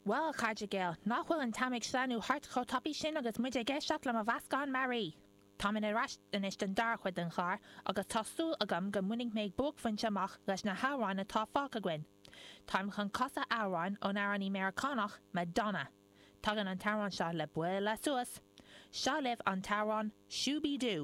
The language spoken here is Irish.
Bhuel, a chairde Gael, nach bhfuil an t-am ag sleamhnú thart chomh tapaidh sin agus muid ag éisteacht le mo mheascán mearaí! Táimid ar ais anois don dara cuid den chlár agus tá súil agam go mbainfidh mé buaicphointe amach leis na hamhráin atá fágtha againn. Táim chun casadh amhráin ón amhránaí Meiriceánach, Madonna. Tagann an t-amhrán seo le bualadh suas! Seo libh an t-amhrán Shoo Be Doo!